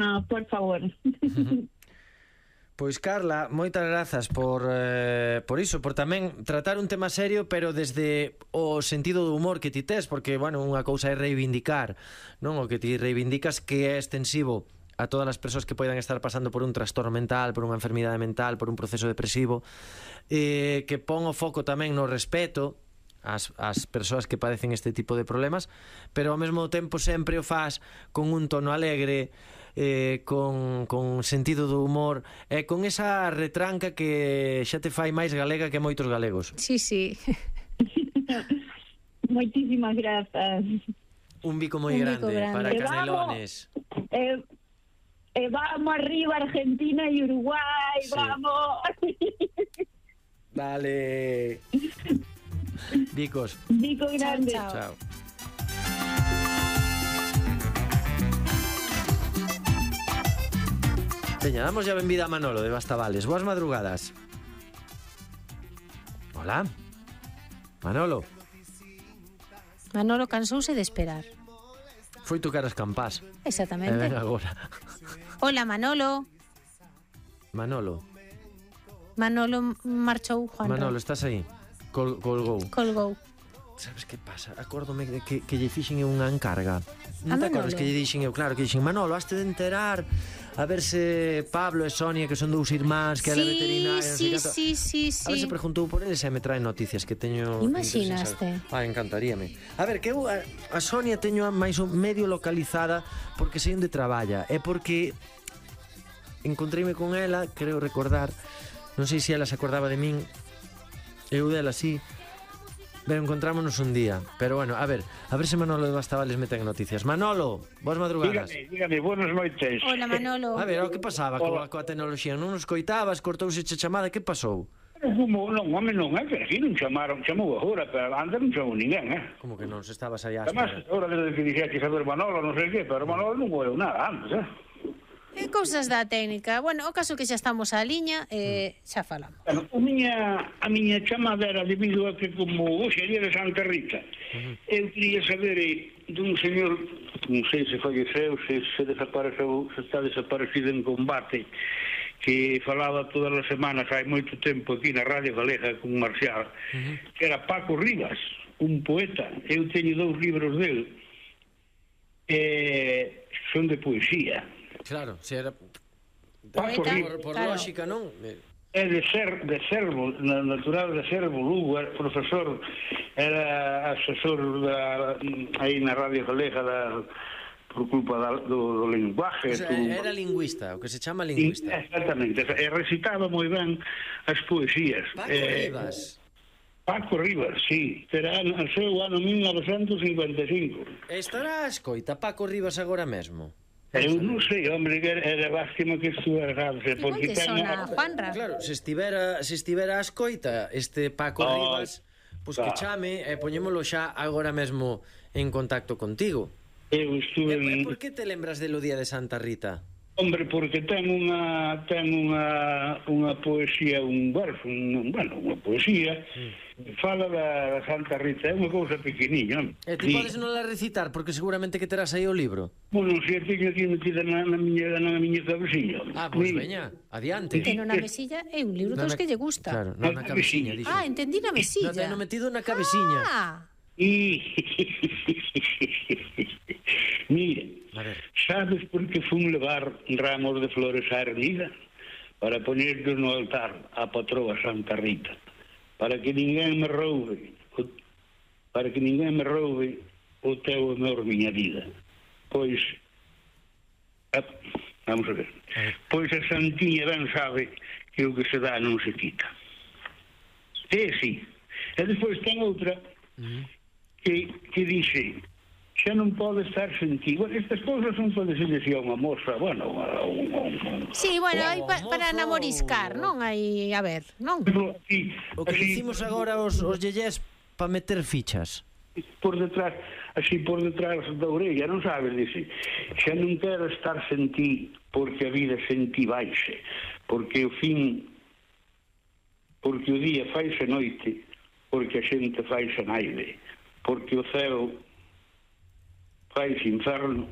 No, por favor. Pois Carla, moitas grazas por iso, por tamén tratar un tema serio, pero desde o sentido do humor que ti tes, porque, bueno, unha cousa é reivindicar, non? O que ti reivindicas que é extensivo a todas as persoas que poidan estar pasando por un trastorno mental, por unha enfermidade mental, por un proceso depresivo, que pon o foco tamén no respeto ás persoas que padecen este tipo de problemas, pero ao mesmo tempo sempre o faz con un tono alegre, con sentido do humor e con esa retranca que xa te fai máis galega que moitos galegos. Sí, sí. Moitísimas grazas. Un bico moi grande para Canelones. Vamos arriba Argentina e Uruguai, sí. Vamos. Dale. Bicos. Bico grande. Chao, chao. Chao. Peña, damos ya benvida a Manolo de Bastavales. Boas madrugadas. Hola. Manolo. Manolo cansouse de esperar. Foi tocar as campás. Exactamente. Ven agora. Hola, Manolo. Manolo. Manolo marchou, Juan. Manolo, estás aí? Colgou. Colgou. Sabes que pasa? Acórdome de que lle fixen eu unha encarga. Non A te acordas Manolo? que lle dixen eu? Claro, que dixen, Manolo, haste de enterar a ver se Pablo e Sonia, que son dous irmáns, que ela é veterinaria, non sei canto. Sí. A ver se preguntou por eles e me trae noticias que teño. Imaginaste. Encantaríame. A ver, que eu a Sonia teño máis ou medio localizada porque sei onde traballa. É porque encontreime con ela, creo recordar, non sei se ela se acordaba de min, eu dela sí. Pero encontrámonos un día. Pero bueno, a ver se Manolo de Bastavales me ten noticias. Manolo, boas madrugadas. Dígame, buenas noites. Hola, Manolo. A ver, o que pasaba coa tecnoloxía? Non nos coitabas, cortouse che chamada, que pasou? Como, non, home, non é que aquí non chamou agora, pero antes non chamou ninguén, Como que non, se estabas aí á Además, espera? agora desde que dixeche saber Manolo, non sei que, pero Manolo non vou nada antes, Cousas da técnica. Bueno, o caso que xa estamos á liña, xa falamos. Bueno, a miña chamada era debido a que como hoxe é día de Santa Rita, eu quería saber dun señor, non sei se falleceu, se desapareceu, se está desaparecido en combate, que falaba todas as semanas hai moito tempo aquí na Radio Galega con Marcial, que era Paco Rivas, un poeta. Eu teño 2 libros del, son de poesía. Claro, se era Paco Rivas, por claro. lógica, non? é de Cervo, natural de Cervo, Lugo, era profesor, era asesor aí na Radio Galega por culpa do linguaje. O sea, era lingüista, o que se chama lingüista. Exactamente, e recitaba moi ben as poesías. Paco Rivas. Paco Rivas, sí, era o seu ano 1955. Estará a escoita Paco Rivas agora mesmo? Eu non sei, hombre, que era lástima que estuvera errado. Igual que sona Juanra. Claro, se estivera a escoita este Paco Rivas, pois que chame e poñémolo xa agora mesmo en contacto contigo. Eu estuve E por que te lembras do día de Santa Rita? Hombre, porque ten unha poesía, un verso, unha poesía, fala da Santa Rita, é unha cousa pequeniña. E ti podes non la recitar, porque seguramente que terás aí o libro. Bueno, se a teño aquí metida na miña cabeciña. Pois veña, adiante. Ten na mesilla é un libro dos que lle gusta. Claro, non na cabeciña, dixo. Entendí na mesilla. Non ten metido na cabeciña. Mira, A ver. sabes por que fun levar ramos de flores á ermida? Para poñerlos no altar á patroa Santa Rita, para que ninguén me roube o teu amor, miña vida. Pois vamos a ver. Pois a Santiña ben sabe que o que se dá non se quita. Sí. E despois ten outra que dixe: xa non pode estar sen ti. Bueno, estas cousas son para decirle a unha moza, bueno, Sí, bueno, hai para namoriscar, non? Hai, a ver, non? O que dicimos agora os yeyés para meter fichas. Por detrás da orella, non sabes, dice, xa non quero estar sen ti, porque a vida sen ti baixe, porque o día faise noite, porque a xente faise naide, porque o ceo faise inferno,